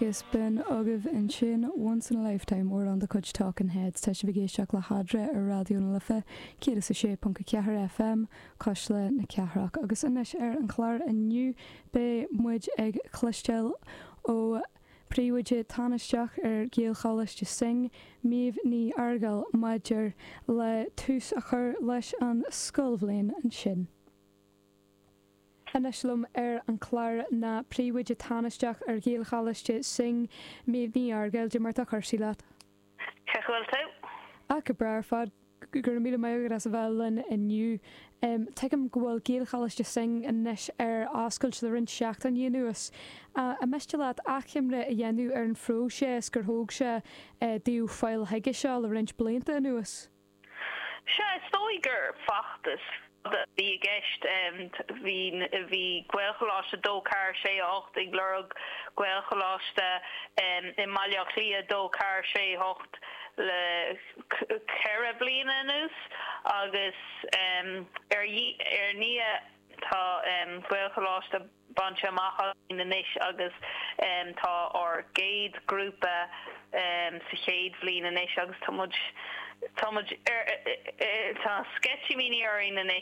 Agus b'in agaibh ansin Once in a Lifetime, amhrán de chuid Talking Heads. Tá sibh ag éisteacht le hEadra ar Raidió na Life 106.4 FM, Cuisle na Cathrach. Agus anois ar an chlár inniu beidh muid ag cloisteáil ó Príomhoide Tánaisteach ar Ghaelcholáiste Synge, Méabh Ní Fhearghail, maidir le tús a chur leis an scoilbhliain ansin. Anois liom ar an chlár ná Príomhoide Tánaisteach ar Ghaelcholáiste Synge, Méabh Ní Fhearghail. Cad é mar tá cúrsaí leat? Cén chaoi a bhfuil tú? Ah, go breá ar fad. Go raibh míle maith agat as a bheith linn inniu. Tuigim go bhfuil Gaelcholáiste Synge anois ar oscailt le roinnt seachtainí anuas. An miste leat achoimre a dhéanamh ar an phróiseas gur thóg sé daoibh fáil chuige seo le roinnt blianta anuas? Sea, is dóigh gur feachtas fada a bhí i gceist. Bhí, bhí Gaelcholáiste 2, 4, 6, 8 ag lorg Gaelcholáiste i mBaile Átha Cliath 2, 4, 6, 8 le ceithre bliana anuas agus ar ndiaidh tá Gaelcholáiste bainte amach againn anois agus tá ár gcéad ghrúpa sa chéad bhliain anois agus tá muid, tá muid ar, tá sceitimíní orainn anois.